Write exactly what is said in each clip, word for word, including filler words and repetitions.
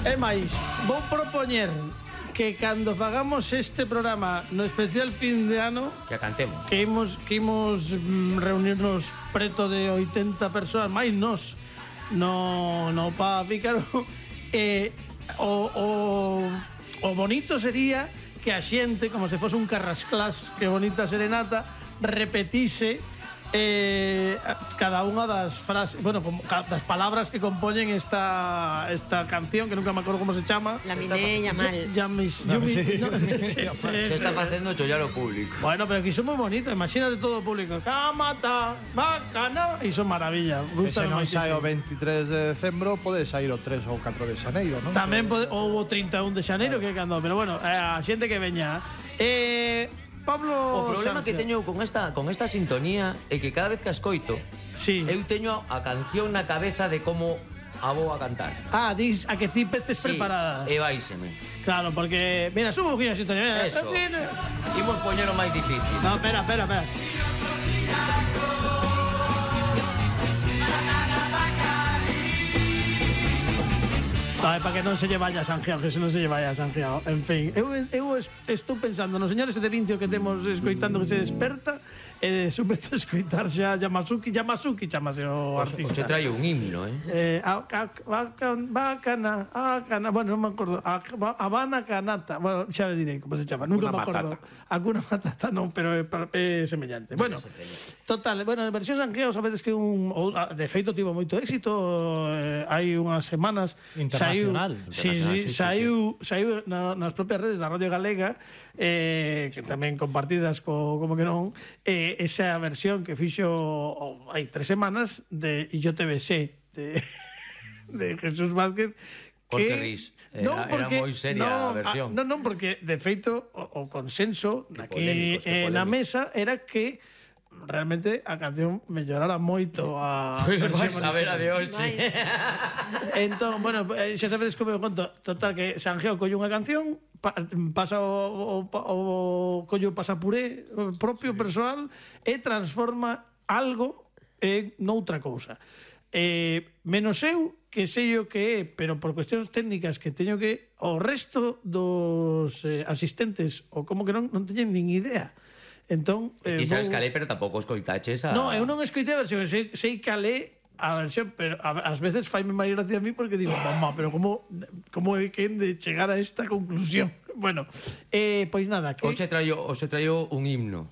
É máis, vou propoñer que cando fagamos este programa no especial fin de ano que a cantemos, que imos, que imos mm, reunirnos preto de oitenta persoas máis nos no, no pa Pícaro eh, o, o, o bonito sería que a xente, como se fose un carrasclás, que bonita serenata, repetise eh, cada unha das frases, bueno, como, das palabras que compoñen esta esta canción, que nunca me acordo como se chama. La miné, Yamal. Yamis, No, Yumi, sí. no, sí, sí, se está facendo chollar o público. Bueno, pero que iso moi bonito, imagínate todo o público. Camata, bacana, iso maravilla. E se Gusta non sai o veintitrés de decembro, pode sair o tres ou catro de xaneiro, non? Tamén pode, ou o trinta e un de xaneiro que cando, pero bueno, a xente que veña. Eh, Pablo O problema Sánchez. que teño con esta con esta sintonía é que cada vez que a escoito, Sí. eu teño a canción na cabeza de como a vou a cantar. Ah, dis a que ti estés Sí, preparada. e vaiseme. Claro, porque mira, subo un poquinho a sintonía. Eso. Imos poñer o máis difícil. No, espera, espera, espera. No, é para que non se lle vaya a Sanjeao, que se non se lle vaya a Sanjeao. En fin, eu, eu es- estou pensando nos señores de Vincio que temos escoitando que se desperta e de súpeto escoitar xa Yamasuki, Yamasuki chamase o O se artista. traio un himno, eh? Eh, a, a, bacana, bacana, bacana, bueno, non me acordo. A, Habana Canata, bueno, xa le direi como se chama, nunca me Hakuna acordo. Hakuna Matata non, pero é, pa- é semellante. Bueno, total, bueno, en versión Sanjeao sabedes que un ou, a, de feito tivo moito éxito, eh, hai unhas semanas Internacional. saiu, sí, sí, Internacional, sí, sí, saiu, saiu na, nas propias redes da Radio Galega, eh, que tamén compartidas co, como que non, eh, esa versión que fixo oh, hai tres semanas de E yo te besé de, de Jesús Vázquez. Por que ris? Era- era moi seria a versión. Non, non, porque de feito o, o consenso Que aquí polémicos, que eh, na polémicos. mesa era que realmente a canción mellorara moito a Pois versión vais a ver a de original. hoxe. Entón, bueno, eh, xa sabedes como eu conto. Total, que Sanjeao colle unha canción, pa, pasa o, o, o collo pasapuré propio persoal e transforma algo en noutra cousa. Eh, menos eu, que sei o que é, pero por cuestións técnicas que teño que... O resto dos eh, asistentes, ou como que non, non teñen nin idea. Entón, Ti sabes vou- calé, pero tampouco escoitaches a... No, eu non escoitei a versión, sei, sei calé a versión, pero a, ás veces faime máis gracia a mí porque digo, mamá, pero como como é que de chegar a esta conclusión? Bueno, eh, pois nada, que Hoxe traio, hoxe traio un himno.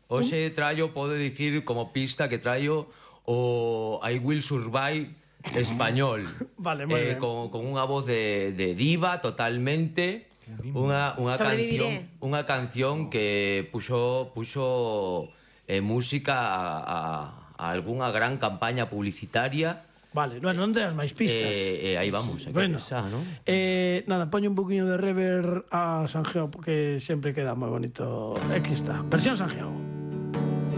Hoxe traio, podo dicir como pista que traio o I Will Survive español. Vale, moi eh, ben. con, con unha voz de, de diva totalmente. Unha, unha Sobreviviré. canción, unha canción que puxo puxo eh, música a, a, a algunha gran campaña publicitaria. Vale, bueno, non deas máis pistas. E eh, eh, aí vamos, hai que Bueno, pensar, ¿no? eh, nada, poño un poquinho de rever a Sanjeao porque sempre queda moi bonito. Aquí está, versión Sanjeao.